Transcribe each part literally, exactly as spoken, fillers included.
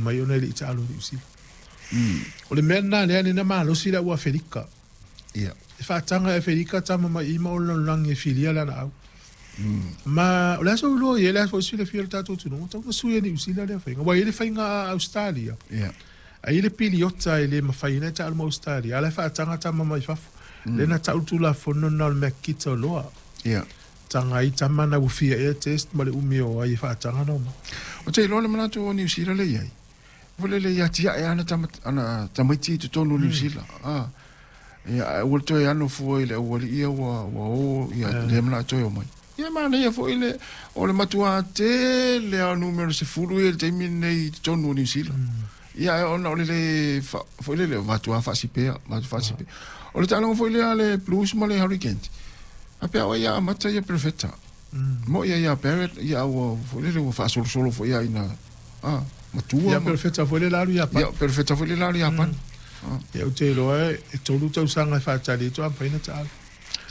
mai ona e le i taalo i Niu Sila. O le mea lena lea na malosi le au Aferika. Ia. E faataga e Aferika tama mai i ma o le lalolagi e filia le anaau. Ma o le aso iloa i ai le aso foi silafia o le tatou atunuu, tau na sui e Niu Sila lea faiga. Ua i ai le faiga a Ausetalia. Ia. A i ai le piliota e le mafai ona taalo ma Ausetalia, a la e faataga tama mai fafo. Lea na tau le Tulafono lena o le mea kita loa. Ia. Taga ai tama na ua fia ea test ma le umi o ai e faataga na o mai. Ou te iloa le manatu o Niu Sila lea i ai. Foi lele ia tiae ana tama, ana tamaiti i totonu o Niu Sila. Ah. Ia, ae ua toe ano fua i le aualii ia ua, ua o, ia, le manao toe o mai. Ia manaia foi le, o le matua tele lava o numera sefulu ia i le taimi lenei i totonu o Niu Sila. Ia, ae ona o le le, fa, foi lele, o matua faasipea, matua faasipea. O le taaloga foi lea a le Blues ma le Hurricanes, faapea o ia amata ia Perofeta. Mo ia ia Barrett, ia ua, foi lele, ua faasolosolo foi ia ina, ah, matua. Ia Perofeta foi le la alu i Iapani. Ia Perofeta foi le la alu i Iapani. Ia ou te iloa e tolu tausaga e faatali ai toa mafai ona taalo.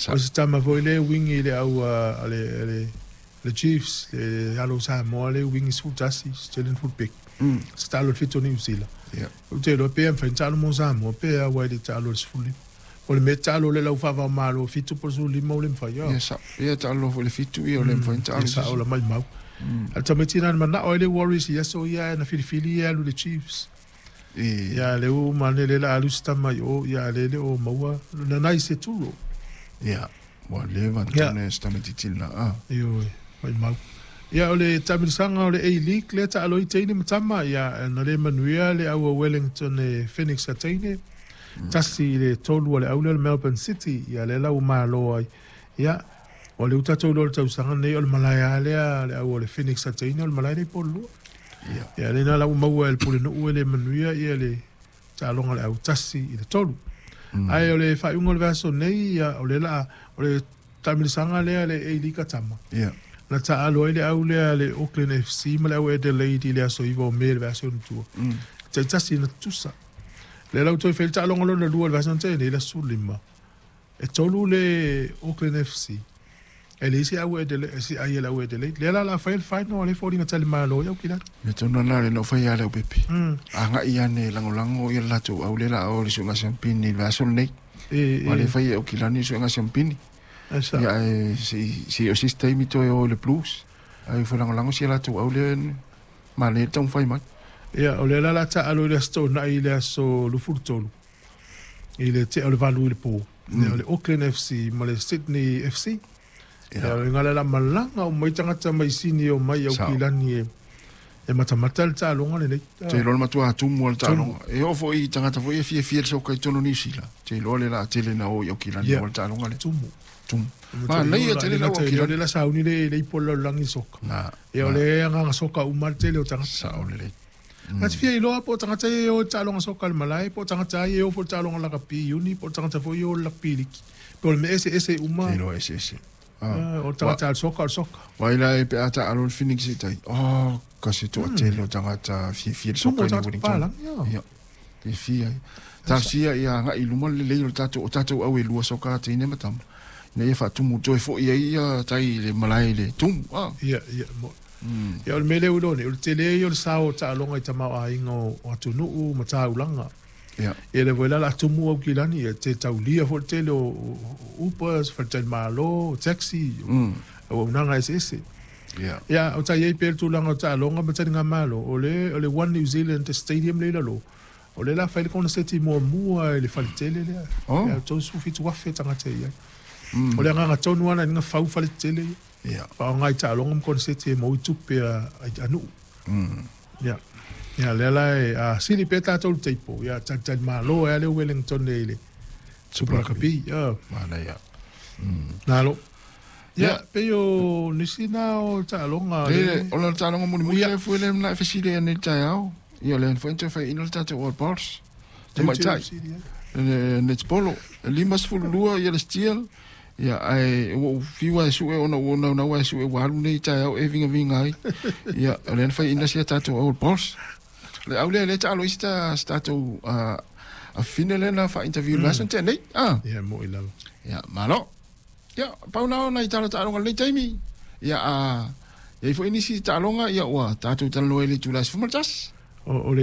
O se tama foi le wingi i le au a le, le, le Chiefs, le alo o Samoa le wingi sefulu tasi, Australian fullback. Mm. Se taalo i le fitu o Niu Sila. Ia. Ou te iloa pe mafai ona taalo mo Samoa pe a ua e le taalo i le sefulu lima. O le mea taalo le lau faava o Malo fitu po o le sefulu lima ua le mafai. Ia sao. Ia taalo foi le fitu ia o le mafai ona taalo. Ia sao la maimau. A le tamaiti na manao ai le Warriors i aso ia na filifili ia alu i le Chiefs. E Ia le u mane le la alu se tama i o, ia le le o maua na nai se turo. Ia, ua leva Ia. tane se tamaitiiti lena. Ah. Ioe, maimau. Ia o le taamilosaga o le A-League lea taalo ai teine ma tama, ia na le manuia le au a Wellington e Phoenix a teine. Tasi i le tolu a le au lea o le Melbourne City, ia lea la ua malo ai. Ia, o le ua tatou iloa i le tausaga lenei o le malae lava lea le au o le Phoenix a teine o le malae lea i Pololua. Ia. Ia lena la ua maua e le Pulenuu e le manuia ia le taaloga o le au tasi i le tolu. Ae o le faaiuga o le vaiaso nei, ia, o le la, o le taamilosaga lea le A-League a tama. Ia. Na taalo ai le au lea le Auckland F C ma le au Adelaide i le aso iva o Me le vaiaso ona tua. Mm. Taitasi na tutusa. Le lau toe fai le taaloga lona lua le vaiaso na tea nei le aso lima. E tolu le Auckland F C. E le isi au Adelaide, si ai le au Adelaide. Le la la fai le final o le foliga tali malo i au kilani. Me tonu ana le no fai ale au pepe. Mm. Anga ia ne langolango ia latou au le la o le suenga siampini le vaiaso lenei. E, e. Ma le fai au kilani suenga siampini. Esa. Ia e si si o sis taimi toe o le Blues. Ai fai langolango si latou au le ma le tau fai mai. Ia o le la la taalo i le aso toonai i le aso lufulu tolu. I le tea o le valu i le po. Mm. Ia o le Auckland F C ma le Sydney F C. Ia. Ia o le ngala la malanga o mai tagata mai Sydney o mai au Sao. kilani e e matamata le taaloga lenei. Te iloa le matua atumu o le Tumu. taaloga. E oo foi i tagata foi e fiafia le soka i totonu o Niu Sila. Te iloa le la tele na o i au kilani Ia. o le taaloga le. Tumu. Tumu. Ma Ma nei nei e tele la lau au kilani. le la sauni le le ipo le lalolagi soka. Na. Ia o le agaga soka uma le tele o tagata. Sao lelei. Na te fia iloa po o tagata e o i taaloga soka i le malae, po o tagata ai e o foi i le taaloga lakapi i uni, po o tagata foi e o le lakapi liki. Pe o le mea eseese uma. Te iloa eseese. Ah. Ah, o le tagata a le soka o le soka. Wai la e pe a taalo le Phoenix i tai. Oh, ka se toa tele o tagata fiafia le Tumu soka o i tagata Wellington. papalangi, ia. Ia. Te fia. Talosia ia agai i luma le lelei o le tatou o tatou au e lua soka a teine ma tama. Ina ia faatumu toe foi ai ia tai i le malae le tumu. Ah. Ia, ia, mo. Mm. Ia o le mea lea ua iloa nei, o le tele ia o le sao o taaloga i tamaoaiga o, o atunuu ma taulaga. Ia. Ia le foi la la tumu au kilani, ia te taulia foi le tele o, o, o Uber, faletalimalo, taxi, o, Mm. o auaunaga eseese. Ia. Ia, o tai ai pea le tulaga o taaloga ma taligamalo, o le, o le One New Zealand Stadium le i lalo. O le la fai le koneseti muamua i le faletele lea. Oh. Ia, tolusefulu fitu afe tagata i ai. Mm. O le agaga tonu ana ina fau faletele ia. Ia. Faaaoga i taaloga ma koneseti e maua i tupe a, a, a nuu. Mm. Ia. Ia, lea la e, a, sili pea tatou le teipo. Ia, talitalimalo e a le Wellington e i le Super Rugby. Ia. Manaia. Mm. Nalo. Ia, Ia. pei o nisi na o taaloga Le, le- o le taaloga mulimuli Ia. le foi le na fesili nei taeao. Ia le foi toe fai ina le tatou All Blacks. Te Le maitai. fesili, ia. Le netbolo. Lima sefulu lua ia le Steel. Ia ai ua ou fiu ai sue ona ua naunau ai sue ua alu nei taeao e vigaviga ai. Ia o le na fai ina sia tatou All Blacks. Le au lea le taalo i se ta- se tatou a a fine le na fa interview mm. last nei. Ah. Ia, mo i lava. Ia, malo. Ia, pau na ona i tala taaloga lenei taimi. Ia, a, ia i foi nisi taaloga, ia ua tatou talanoa i le itula e sefulu ma le tasi. O, o le